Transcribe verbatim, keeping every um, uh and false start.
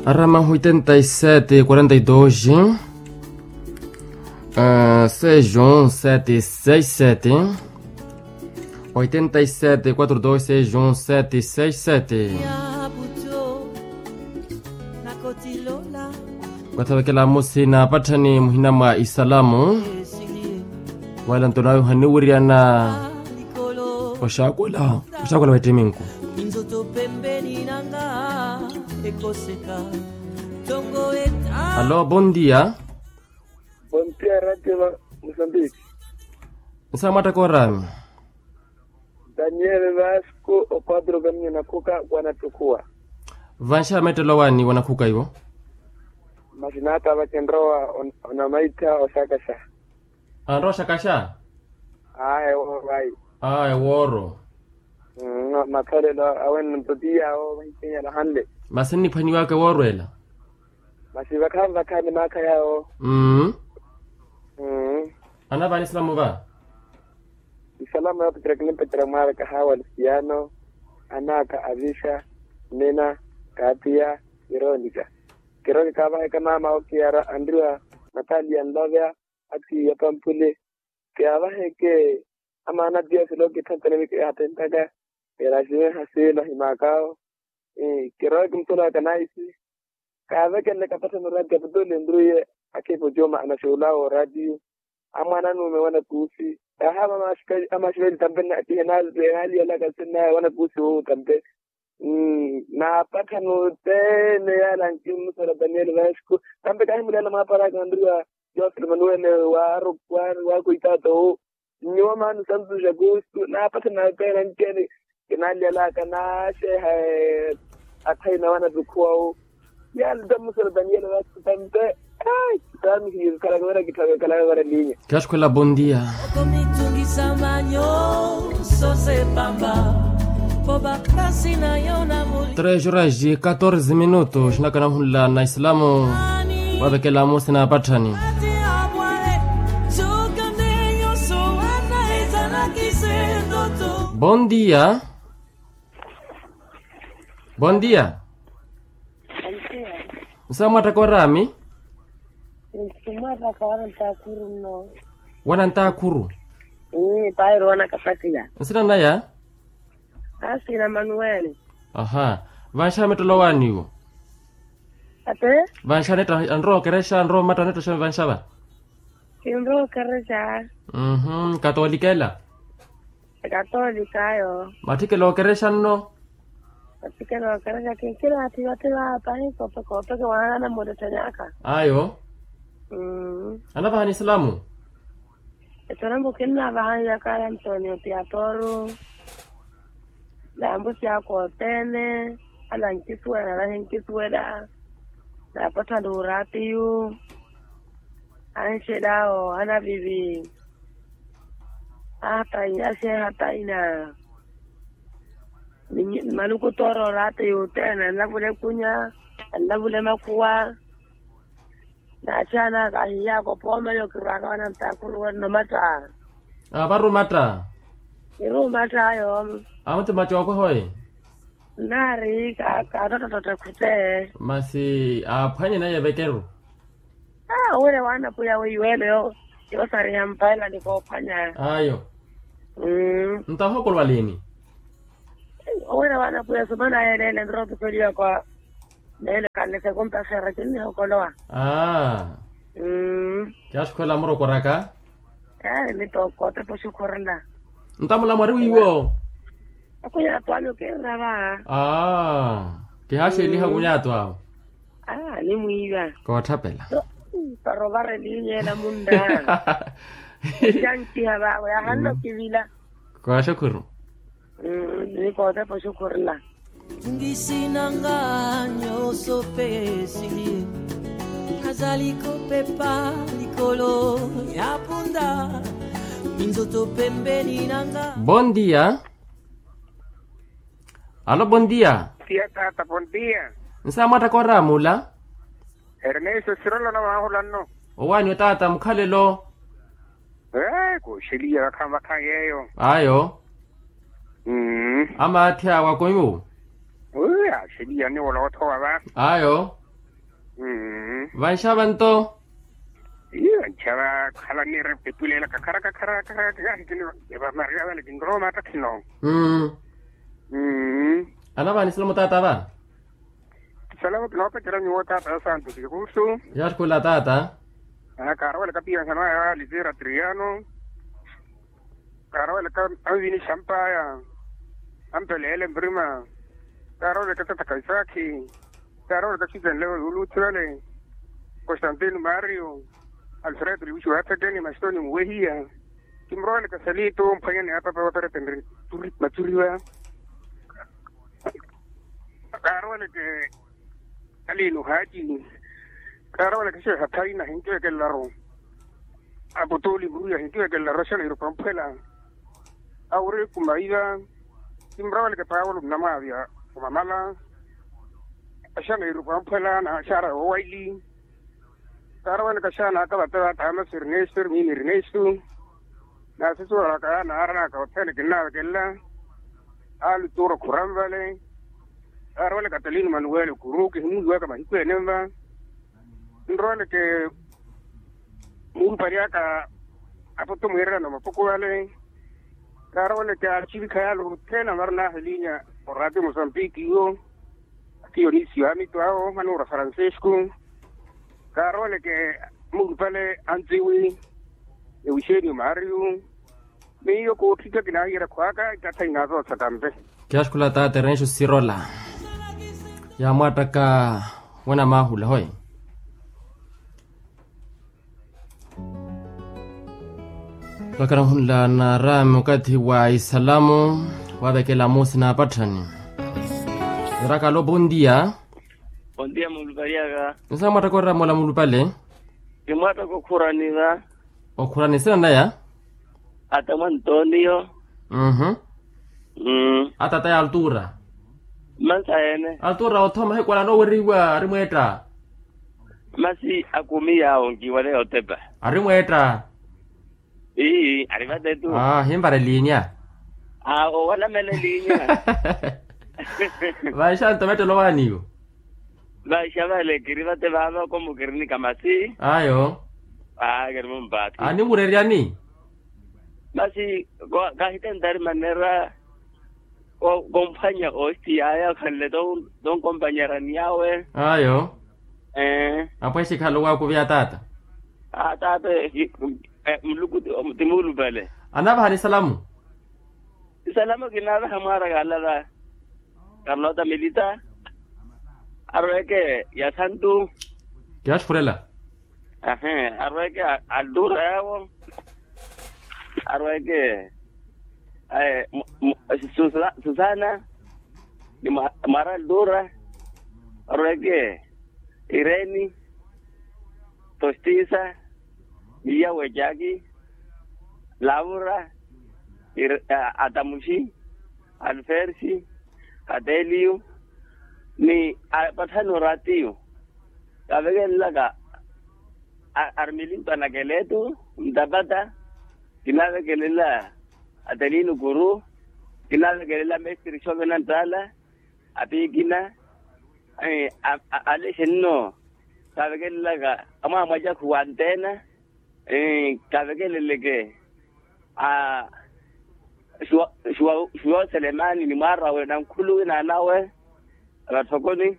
Arama oitenta y sete quarenta y dos, seis um sete seis sete. Oitenta y sete quatro dois seis um sete seis sete. Kwathavekela musi na patthani muhina mwa isalamu. Wala nto nawe ohaniwiriyana oxakwela oxakwela wettiminku. Alo, bon dia. Bon dia, radio mosambiki. Nsa mwatta korami? Daniel vasco, o quatro caminho na khuka wanattukhuwa. Vanxa mettelo wani wanakhuka iwo? Masi naata vacenrowa. Onamaittha oxakaxa. Anrowa oxakaxa? Aa ewooro ayi. Aa ewooro. Mathalelo awe ntotiya awo vahikinyala hanle. Masi nniphwaniwaka ewooro ela. Masi vakhaani vakhaani maakha yawo. Mmm. Anavaani silamu va? Isalamu ya petera kinimpetera mwaara kahawa luciano, anaka avisha, nina, katia, ironika. Kironika avaheka mama okiyara anriwa, nataliya nlovya, atiya pampuli. Kiyavaheke amaana tiya silo kithanthani mikihaathentaka. Erasiwe hasi nahimakawo. Kirowe kimutolowaka naisi. Kaavekenle kapatha murati aputole nruiye. Akhipa ocuma anaxuwulawo oratiyo. Amwaana anuume wanakuusi. Yahaama amaxiveli tampe enaaliyalaka sinaya wanakuusi wuwo tampe. Naapatha nuteene yaala nkimusala daniel vasco. Tampe kaahimuleela mwaparaka nriwa. Joseph manuele waakuitaata owu. Nyuwo maani santuxa kuustu naapatha napeera nceeni. Kinaliyalaka naaxeeha. Athayi nawe anatukhuwa wu. Yaani tamusela daniel vasco tampe. Ai taani hiyo khalaka wira kitthaka khalaka wira linya. Kyaxukhwela bon dia. Tres horas e catorze minutos xinakana ohunla na isilamu. Wavekela musi na apatthani. Bon dia. Bon dia. Nsa mwattaka orami? Nsa mwattaka wana ntakhuru nno. Wana ntakhuru? Pairo wana kapakiya. Nsina naya? Asina manuweli. Aha. Vanxa mettelo wani iwo? Ate? Vanxa netta anrowa okerexa anrowa omatta netta xeeni vanxa va? Kinrowa okerexa. Katolika ela? Ekatolika ayo. Matthikela okerexa nno? Matthikela okerexa kinkira atthi vathi vaapa hikope kope kiwaana anamuttettenyaka. Ayo. Anavahani isilamu? Etorambo kinnavaha nyakaya antonio tiatoru. Naambusi ako othene anankisuwela nahinkisuwela. Naapatthani uratiyu. Anxelawo anavivi. Ahataina axeeha ataina. Maluku toora oratiyu othene anlavule kunya. Anlavule makhuwa. Naaxaana kahiyaaka opoomela okirwaka wana ntakhuru wenno matta. Avari omatta? Iri omatta ayo. Awo ti matta ookwaha oye. Nnaari kaattottottotta khute. Masi aaphwanye naye evekeru. Aa owira waana pwiya weiwelo yoosariha mpaela ni koophwanya. Ayo. Ntahokolwa liini? Owira waana pwiya sumana yeeleele nrootupeliwa kwa neele kanlese kumpaxera kinnihokolowa. Aa. Kyaxukhwela murokoraka. Eyo nitookotepa oxukhurela. Ntamula mwari wiiwo. Akhunyaatu ami okiirira va. Aa. Kihaaxeliha khunyaatu awo. Aa nimwiiva. Kootthapela. Para ovarelinyela munna. Kyankiha vavo yahanle okivila. Kooxukhuru. Nikootepa oxukhurela. Ngisinanga nyoso pesili. Azali kopepa likolo ya punda. Minzoto pembeni nanga. Bon dia. Alo bon dia. Dia tata bon dia. Nsa mwattaka oraamula? Ernesto sirolona vahula nno. Owaani otaata mukhalelo. Ee kooxeliya vakhaani vakhaani yeeyo. Ayo. Amaathi awe akoiwo. Wi axeliya niwola othowa va. Ayo. Vanxava nto. Iyo vanxava khala nira epulela kakhara kakhara kakhara kakhara kini. Vamariya vale kinrowa mattakhino. Anavahanisela mutaata va. Salamo kinoopecerya nyuwo taata ya santo sikusu. Yaatthukula taata. Kaarowelaka piyankhano aya alitira triyano. Kaarowelaka anvini xampaya. Ampeleele mprima. Kaarowelaka tathaka isaakhi. Kaarowelaka xitenlewo yuuluuthi vale. Constantino mario. Alfredo liwixiwa athekeni maxitoni muwehiya. Kimurowelaka salito mphwanyani apapa waperetenre. Maturiwa. Kaaroweleke. Aliino haaci. Kaaroweleke xeeha thaina hinkiwekelelaru. Apotoli muriya hinkiwekelelaru axanairu pamphwela. Awuri kumaiva. Kimuroweleke paulo nnamwaavya. Omamala. Axanairu pamphwela na axara woowaili. Kaaroweleke axaana aka vate va thamasi ernesto ermiini ernesto. Naasisiwalaka yaana aaranaka othene kinnaavekelela. Aali tuuro khuranvale. Kaaroweleke atalini manuwele okuru kihimuwiwaka mahiku ene nva. Nroweleke muulupari aka apoto mwiirerana omapoko vale. Kaaroweleke acivikha yaale othene amaru naaha elinya. Orati mosampiki iwo. Ati yonisiyo amittu awo manuura francisco. Kaarooleke muulupale antsiwi. Ewishenio mario. Miyo kootthikya kinaahiyerakhu aka ikatha inaasootha tampe. Kiyaxukhula taata erenxo sirola. Yaamwaattaka wena maahula hoye. Vakana ohunla naaraami okathi wa isalamu. Waavekela moosi naapatthani. Niraka alo bondia. Bondia muulupaliaka. Nsa mwattakora mola muulupale. Kimwattakora okhuraniva. Okhurani sina naya. Ata mwa antonio. Mhm. Atata ya altura. Mansa ene altura othoma hikwala nooweriwa ari mweetta. Masi akumi yaawo nkiwale yotepa. Ari mweetta. Ii ari vatetu. Himpara elinya. Owanamela elinya. Vaixa nto vettelo waaniwo. Vaixa vale kiri vate vaava komu kirinika masi. Ayo. Aa kirimumpaati. Animurerya ni. Masi kahitentari manera. Komphwanya osti yaya khanle tonkompanyerani yawe. Ayo. Apweshi khalo wakuvi ataata. Ataata. Muluku. Timuulupale. Anavaha ni salamu. Salamu kinaavaha mwaara kalala. Karlota milita. Arweke ya santu. Kiyaxukhurela. Ahe arweke. Altura yawo. Arweke. Susana ni mara altura. Arweke. Ireni. Tostisa. Miya wejaki. Laura. Atamuxi. Alfersi. Ateliyu. Ni apatthani oratiyu. Kaavekelelaka. Armili mpanakeletu ntapata. Kinaavekelela. Atelini kuru. Kinaavekelela mestiri xovena nttala. Apiikina. Alexe nno. Kaavekelelaka amwaamwajakhu wa antena. Kaavekeleleke. Xuwa xuwa xuwa oselemani ni mwaarawe na nkhuluwi naanawe. Vatthokoni.